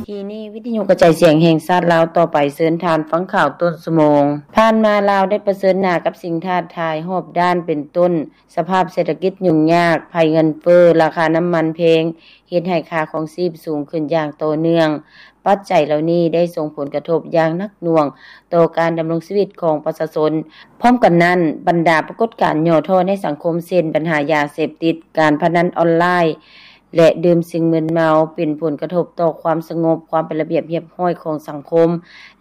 ທີ່ນີ້ ວິທະຍຸກະຈາຍສຽງແຫ່ງຊາດລາວ ຕໍ່ໄປເຊີນທ່ານຟັງຂ່າວຕົ້ນຊົ່ວໂມງ. ຜ່ານມາລາວໄດ້ປະເຊີນໜ້າກັບສິ່ງທ້າທາຍຮອບດ້ານ ເປັນຕົ້ນ ສະພາບເສດຖະກິດຫຍຸ້ງຍາກ, ໄພເງິນເຟີ້, ລາຄານ້ຳມັນແພງ ເຮັດໃຫ້ຄ່າຄອງຊີບສູງຂຶ້ນຢ່າງຕໍ່ເນື່ອງ. ປັດໄຈເຫຼົ່ານີ້ໄດ້ສົ່ງຜົນກະທົບຢ່າງໜັກໜ່ວງຕໍ່ການດຳລົງຊີວິດຂອງປະຊາຊົນ. ພ້ອມກັນນັ້ນ, ບັນດາປາກົດການຫຍໍ້ທໍ້ໃນສັງຄົມ ເຊັ່ນ ບັນຫາຢາເສບຕິດ, ການພະນັນອອນລາຍ ແລະ ດື່ມສິ່ງມຶນເມົາ ເປັນຜົນກະທົບຕໍ່ຄວາມສະຫງົບ, ຄວາມເປັນລະບຽບຮຽບຮ້ອຍຂອງສັງຄົມ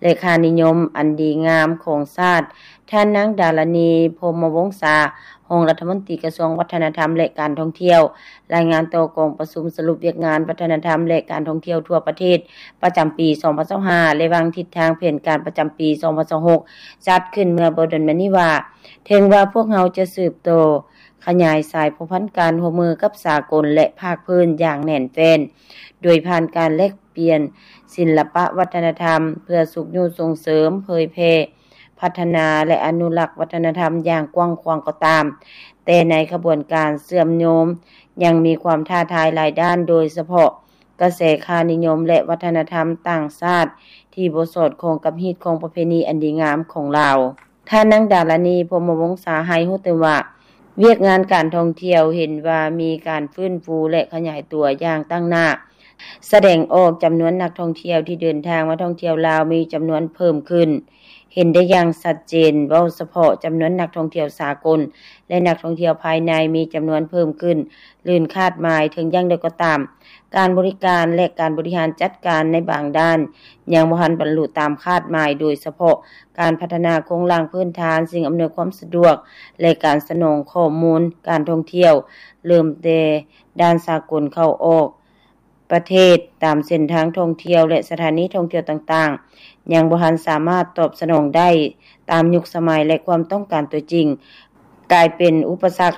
ແລະ ຄ່ານິຍົມອັນດີງາມຂອງຊາດ. ທ່ານນາງ ດາລານີ ພົມມະວົງສາ ຮອງລັດຖະມົນຕີກະຊວງວັດທະນະທຳ ແລະ ການທ່ອງທ່ຽວ ລາຍງານຕໍ່ກອງປະຊຸມສະຫຼຸບວຽກງານວັດທະນະທຳ ແລະ ການທ່ອງທ່ຽວທົ່ວປະເທດ ປະຈຳປີສອງພັນຊາວຫ້າ ແລະ ວາງທິດທາງແຜນການປະຈຳປີສອງພັນຊາວຫົກ ຈັດຂຶ້ນເມື່ອບໍ່ດົນມານີ້ວ່າ ເຖິງວ່າພວກເຮົາຈະສືບຕໍ່ຂະຫຍາຍສາຍພົວພັນການຮ່ວມມືກັບສາກົນ ແລະ ພາກພື້ນຢ່າງແໜ້ນແຟ້ນ ໂດຍຜ່ານການແລກປ່ຽນສິລະປະວັດທະນະທຳ ເພື່ອຊຸກຍູ້ສົ່ງເສີມ, ເຜີຍແຜ່, ພັດທະນາ ແລະ ອະນຸລັກວັດທະນະທຳຢ່າງກວ້າງຂວາງກໍຕາມ, ແຕ່ໃນຂະບວນການເຊື່ອມໂຍງ ຍັງມີຄວາມທ້າທາຍຫຼາຍດ້ານ, ໂດຍສະເພາະກະແສຄ່ານິຍົມ ແລະ ວັດທະນະທຳຕ່າງຊາດ ທີ່ບໍ່ສອດຄ່ອງກັບຮີດຄອງປະເພນີອັນດີງາມຂອງລາວ. ທ່ານນາງ ດາລານີ ພົມມະວົງສາ ໃຫ້ຮູ້ຕື່ມວ່າ ວຽກງານການທ່ອງທ່ຽວເຫັນວ່າມີການຟື້ນຟູ ແລະ ຂະຫຍາຍຕົວຢ່າງຕັ້ງໜ້າ, ສະແດງອອກຈຳນວນນັກທ່ອງທ່ຽວທີ່ເດີນທາງມາທ່ອງທ່ຽວລາວມີຈຳນວນເພີ່ມຂຶ້ນ ເຫັນໄດ້ຢ່າງຊັດເຈນ, ເວົ້າສະເພາະຈຳນວນນັກທ່ອງທ່ຽວສາກົນ ແລະ ນັກທ່ອງທ່ຽວພາຍໃນມີຈຳນວນເພີ່ມຂຶ້ນ ເກີນຄາດໝາຍ. ເຖິງຢ່າງໃດກໍຕາມ, ການບໍລິການ ແລະ ການບໍລິຫານຈັດການໃນບາງດ້ານ ຍັງບໍ່ທັນບັນລຸຕາມຄາດໝາຍ, ໂດຍສະເພາະການພັດທະນາໂຄງລ່າງພື້ນຖານ, ສິ່ງອຳນວຍຄວາມສະດວກ ແລະ ການສະໜອງຂໍ້ມູນການທ່ອງທ່ຽວ ເລີ່ມແຕ່ດ່ານສາກົນເຂົ້າອອກປະເທດ, ຕາມເສັ້ນທາງທ່ອງທ່ຽວ ແລະ ສະຖານີທ່ອງທ່ຽວຕ່າງໆ ຍັງບໍ່ທັນສາມາດຕອບສະໜອງໄດ້ຕາມຍຸກສະໄໝ ແລະ ຄວາມຕ້ອງການຕົວຈິງ, ກາຍເປັນອຸປະສັກ